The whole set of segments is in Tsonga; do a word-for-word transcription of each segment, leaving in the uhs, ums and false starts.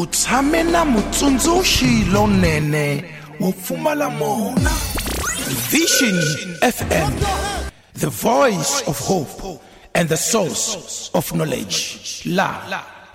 U tshame na mutsundzuxi lonene wo pfumala mona. Vision F M, the voice of hope and the source of knowledge. La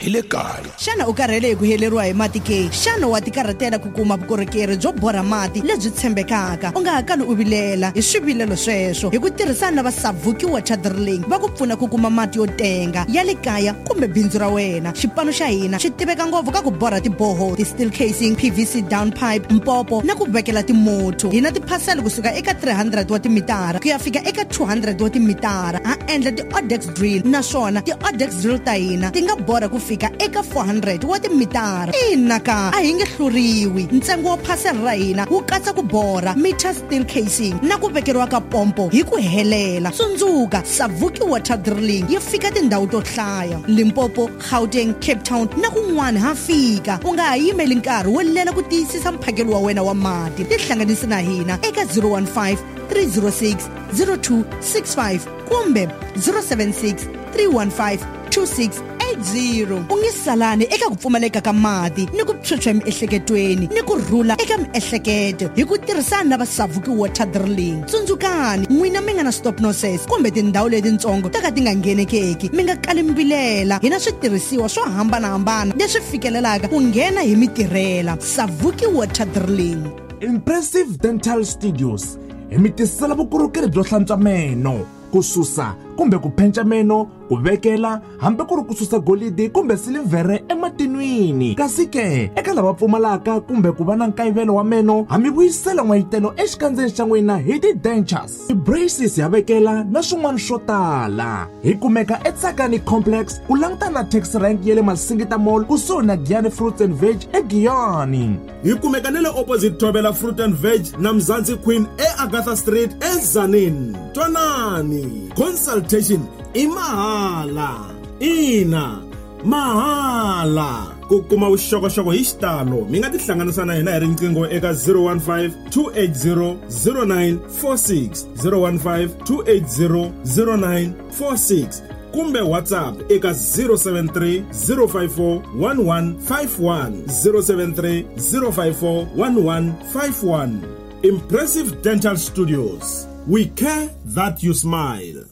hi le kaya. Xana u karhele hi ku heleriwa hi mati ke? Xana wa tikarhatela ku kuma vukorhokeri byo borha mati lebyi tshembekaka? U nga ha kali u vilela hi swivilelo sweswo hi ku tirhisana na va Savuki Water Drilling va ku pfuna ku kuma mati yo tenga ya le kaya kumbe bindzu ra wena. Xipano xa hina xi tiveka ngopfu ka ku borha tiboho, ti-steel casing, P V C down pipe, mpopo na ku vekela timotho. Hi na tiphasela kusuka eka three hundred wa timitara ku ya fika eka two hundred wa timitara. Ha endla ti-Odex drill naswona ti-Odex drill ta hina ti nga borha ku fika eka four hundred wa timitara. Ina ka a hi nge hluriwi. Ntsengo wa phasela ra hina wu katsa ku borha meter steel casing na ku vekeriwa ka pompo hi ku helela. Tsundzuka, Savuki Water Drilling yi fika tindhawu to hlaya: Limpopo, Gauteng, Cape Town na kun'wana ha fika. U nga ha yimeli nkarhi wo lela ku tiyisisa mphakelo wa wena wa mati. Tihlanganisi na hina eka zero one five, three zero six, zero two six five kumbe zero seven six, three one five, two six eight zero. U nge salani eka ku pfumaleka ka mati ni ku phyuphya emiehleketweni ni ku rhula eka miehleketo hi ku tirhisana na va Savuki Water Drilling. Tsundzukani, n'wina mi nga na stop nonsense kumbe tindhawu letitsongo to ka ti nga nghenekeki, mi nga kali mi vilela. Hi na switirhisiwa swo hambanahambana leswi fikelelaka ku nghena hi mitirhela. Savuki Water Drilling. Impressive Dental Studios hi mi tisela vukorhokeri byo hlantswa meno, ku susa kumbe ku phenca meno, ku vekela hambi ku ri ku susa golidi kumbe silivhere ematinwini. Kasi ke eka lava pfumalaka kumbe ku va na nkayivelo wa meno, ha mi vuyisela n'wayitelo exikandzeni xa n'wina hi ti-dentures, ti-braces ya vekela na swin'wana swo tala. Hi kumeka eTsakani Complex ku langutana na taxi rank ya le Masingita Mall kusuhi na Giyani Fruits and Veg eGiyani. Hi kumeka na le opposite Thobela Fruit and Veg na Mzansi Queen eAgatha Street eZanin. Twanani, consultation i mahala. Ina, mahala. Ku kuma vuxokoxoko hi xitalo mi nga tihlanganisa na hina hi riqingho eka zero one five, two eight zero, zero nine four six, zero one five, two eight zero, zero nine four six kumbe WhatsApp eka zero seven three, zero five four, one one five one, zero seven three, zero five four, one one five one. Impressive Dental Studios. We care that you smile.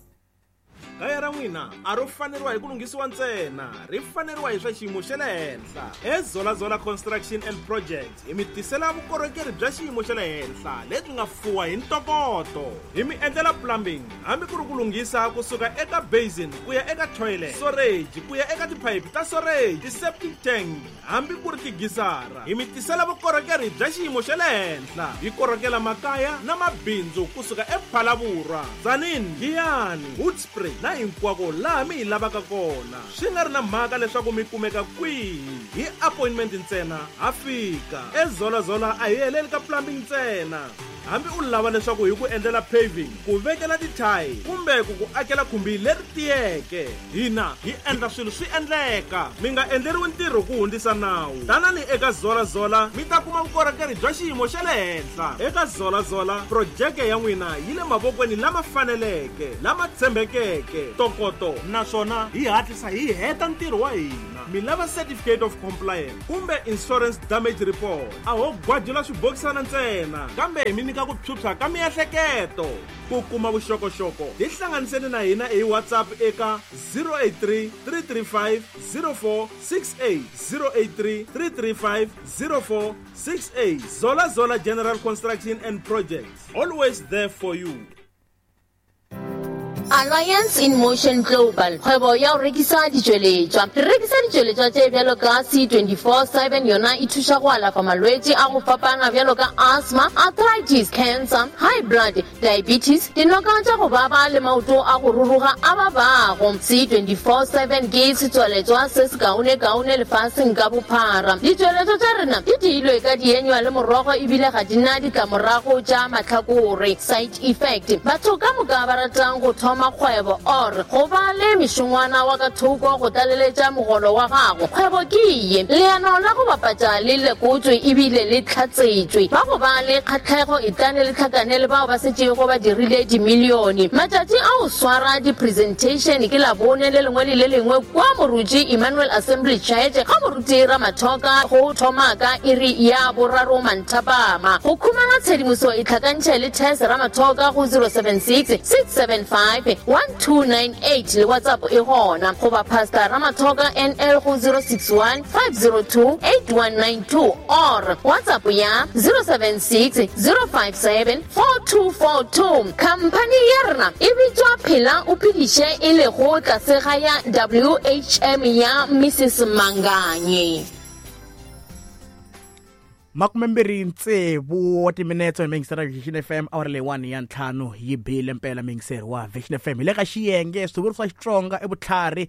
Kaya ra n'wina a ro faneriwa hi ku lunghisiwa ntsena, ri faneriwa hi swa xiyimo xa le henhla. Ezola Zola Construction and Projects hi mi tisela vukorhokeri bya xiyimo xa le henhla lebyi nga fuwa hi ntokoto. Hi mi endlela plumbing, hambi ku ri ku lunghisa kusuka eka basin ku ya eka toilet, storage ku ya eka tiphayiphi ta storage, ti-septic tank, hambi ku ri tigisara. Hi mi tisela vukorhokeri bya xiyimo xa le henhla. Hi korhokela makaya na mabindzu kusuka ePhalaborwa, Tzaneen, Giyani, Hoedspruit na hinkwako laha mi hi lavaka kona. Swi nga ri na mhaka leswaku mi kumeka kwihi, hi appointment ntsena ha fika. Ezola Zola a hi heleli ka plumbing ntsena. Hambi u lava leswaku hi ku endlela paving, ku vekela tithayi kumbe ku ku akela khumbi leri tiyeke, hina hi endla swilo swi endleka. Mi nga endleriwi ntirho ku hundzisa nawu. Tanani eka Zola Zola mi ta kuma vukorhokeri bya xiyimo xa le henhla. Eka Zola Zola, projeke ya n'wina yi le mavokweni lama faneleke, lama tshembekeke, ntokoto, naswona hi hatlisa hi heta ntirho wa hina. Mi lava certificate of compliance kumbe insurance damage report, a ho gwajula swibokisana ntsena, kambe hi mi nyika ku phyuphya ka miehleketo. Ku kuma vuxokoxoko tihlanganiseni na hina hi WhatsApp eka zero eight three, three three five, zero four six eight, zero eight three, three three five, zero four six eight. Zola Zola General Construction and Projects, always there for you. Alliance in Motion Global, kgwebo ya go rekisa ditšweletšwa. Re rekisa ditšweletšwa tše bjalo ka C twenty-four seven, yona e thuša go alafa malwetši a go fapana bjalo ka asthma, arthritis, cancer, high blood, diabetes, dinoka tša go baba le maoto a go ruruga a babago. C twenty-four seven ke setsweletšwa se se kaone-kaone lefaseng ka bophara. Ditšweletšwa tša rena di diilwe ka dienywa le morogo ebile ga di na ditlamorago tša mahlakore, side effect. Batho ka moka ba ratang go thoma thoma kgwebo or go ba le mešongwana wa ka thoko go tlaleletša mogolo wa gago. Kgwebo ke ye leano la go bapatša le lekotswe ebile le tlhatsetšwe. Ba go ba le kgatlhego e tlane le tlhakane le bao ba setšego ba dirile dimilione. Matšatši a go swara di-presentation ke Labone le lengwe le le lengwe kwa Moruti Emmanuel Assembly Church ga Moruti Ramathoka go thoma ka iri ya boraro manthapama. Go khumana tshedimoso e tlhakantšhe le Tess Ramathoka go zero seven six, six seven five, one two nine eight le WhatsApp e gona, goba Pastor Ramathoka N L go zero six one, five zero two, eight one nine two or WhatsApp ya zero seven six, zero five seven, four two four two. Khamphani ya rena e bitswa Phela o Phediše e lego tlase ga ya W H M ya Missus Manganye. Makumembirhi tsevu wa timinetse hi mingisera Vision F M awara leyi one ya ntlhanu yi bile mpela mingiseri wa Vision F M. Hi le ka xiyenge swivuriso swa Xitsonga i vutlhari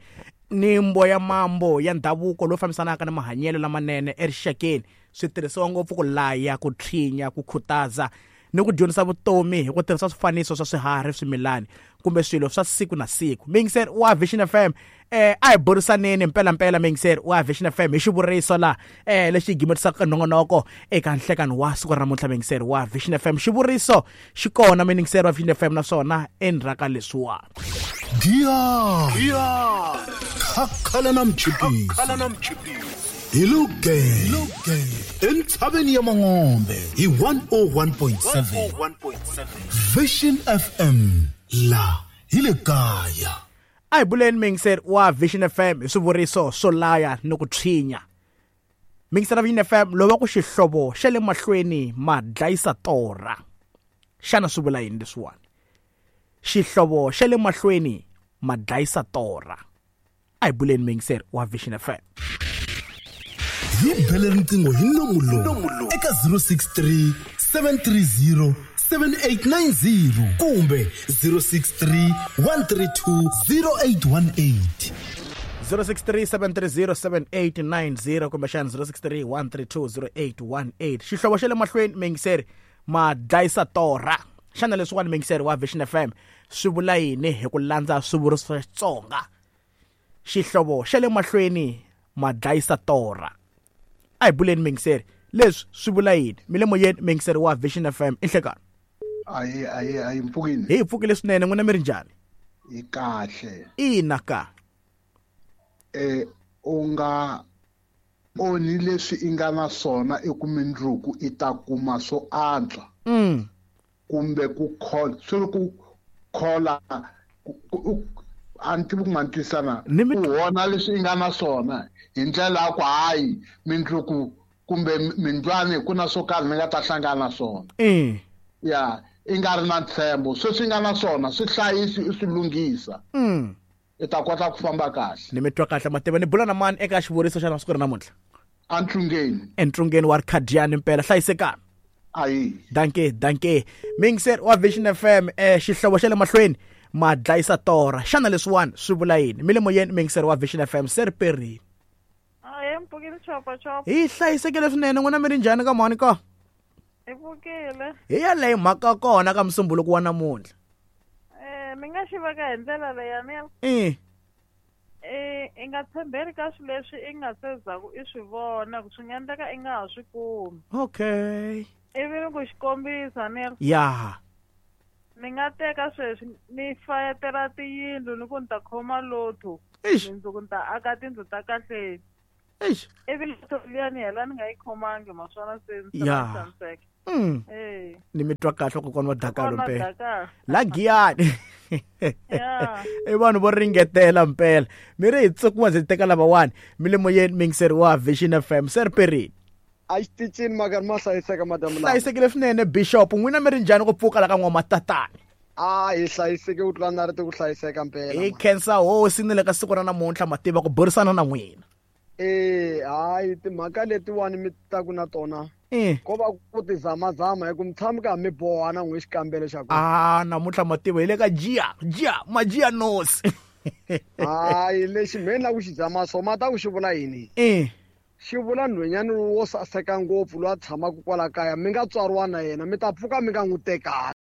ni mboya mambo ya ndhavuko lowu fambisanaka na mahanyelo lamanene erixakeni. Swi tirhisiwa ngopfu ku laya, ku tshinya, ku khutaza ni ku dyondzisa vutomi hi ku tirhisa swifaniso swa swiharhi, swimilani kumbe swilo swa siku na siku. Mingiseri wa Vision F M, eh a hi burisaneni mpela mpela mingiseri wa Vision F M hi xivuriso la eh lexi gimetisaka nongonoko eka nhlekano wa siku ra namuntlha. Mingiseri wa Vision F M, xivuriso xi kona mingiseri wa Vision F M naswona endzhaku leswiwa Dia Dia Khakhala na mchipisi Hello gang Entshaveni ya Mangombe hi one oh one point seven Vision F M la hi le kaya. A hi buleni mingiseri wa Vision F M hi swivuriso swo laya ni ku tshinya. Mingiseri wa Vision F M lova ku xihlovo xa le mahlweni ma dlayisa torha. Xana swi vula yini leswiwani? Xihlovo xa le mahlweni ma dlayisa torha. A hi buleni mingiseri wa Vision F M. Hi bele riqingho hi nomu lowu eka zero six three, seven three zero, seven eight nine zero kumbe zero six three, one three two, zero eight one eight. zero six three, seven three zero, seven eight nine zero kumbe xana zero six three, one three two, zero eight one eight. Xihlovo xa le mahlweni mingiseri ma dlayisa torha. Xana leswiwani mingiseri wa Vision F M swi vula yini hi ku landza swivuriso swa Xitsonga? Xihlovo xa le mahlweni ma dlayisa torha. A hi buleni mingiseri leswi swi vula yini? Mi le moyeni mingiseri wa Vision F M i nhlekani. Ayi ayi ayi mpfukile. Hi pfukile swinene, n'wina mi ri njhani? Hi kahle. Ina ka. Eh u nga onhi leswi i nga na swona eku mindzuku i ta kuma swo antswa. Mm. Kumbe ku khola, swi ri ku khola a ni tivi ku ma ni twisana. U vona leswi i nga na swona hi ndlela ya ku hayi mindzuku kumbe mindlwani ku na swo karhi ni nga ta hlangana na swona. Mm. Ya i nga ri na ntshembo, sweswi i nga na swona swi hlayisi i swi lunghisa. Mm. I ta kota ku famba kahle. Ni mi twa kahle mativa. Ni bula na mani eka xivuriso xa siku ra namuntlha? Entlungeni. Entlungeni wa Rikhadiyani mpela. Hlayisekani. Ayi. Danke, danke. Mingiseri wa Vision F M, eh xihlovo xa le mahlweni ma dlayisa torha. Xana leswiwani swi vula yini? Mi le moyeni mingiseri wa Vision F M se ri perini. Ayi mpfukile chopa chopa. Hi hlayisekile swinene, n'wina mi ri njhani ka mhani ka? Hi pfukile. Hi yaleyo mhaka kona ka musumbuluko wa namuntlha. Eh mi nga xi veka hi ndlela leyi ni. Eh. Eh i nga tshembeli ka swilo leswi i nga se zaku i swi vona ku swi nga endleka i nga ha swi kumi. Okay. Ivi ni ku xikombisa ni. Ya. Ni nga teka sweswi ni fayetela tiyindlu ni ku ni ta khoma lotho. Mindzuku ni ta aka tindlu ta kahle. Eish. Ivi lotho liya ni hela ni nga yi khomangi maswona se ni tshamiseka. Mm. Eh. Ni mi twa kahle kokwana wa Dakalo mpela. Dakalo. La Giyani. Yeah. I vanhu vo ringetela mpela. Mi ri hi tsukuwa ndzi teka lavawani. Mi le moyeni mingiseri wa Vision F M se ri perini. A xitichini maka ma hlayiseka madamu lama. Hlayisekile swinene Bishop, n'wina mi ri njhani ku pfuka la ka n'wamatatani? A hi hlayiseke ku tlula na ri ku hlayiseka mpela. Hi khensa hosi ni le ka siku ra namuntlha mativa ku burisana na n'wina. Eh hayi timhaka letiwani mi ta ku na tona. Eh. Ko va ku ti zamazama hi ku mi tshami ka mi boha na n'we xikambelo xa ku. Ah namuntlha mativa hi le ka jia, jia, majia nosi. Hayi lexi me na ku xi zama so ma ta ku xi vula yini? Eh. Xi vula nhwenyana wo saseka ngopfu loyi a tshamaka kwala kaya mi nga tswariwa na yena mi ta pfuka mi nga n'wi tekanga.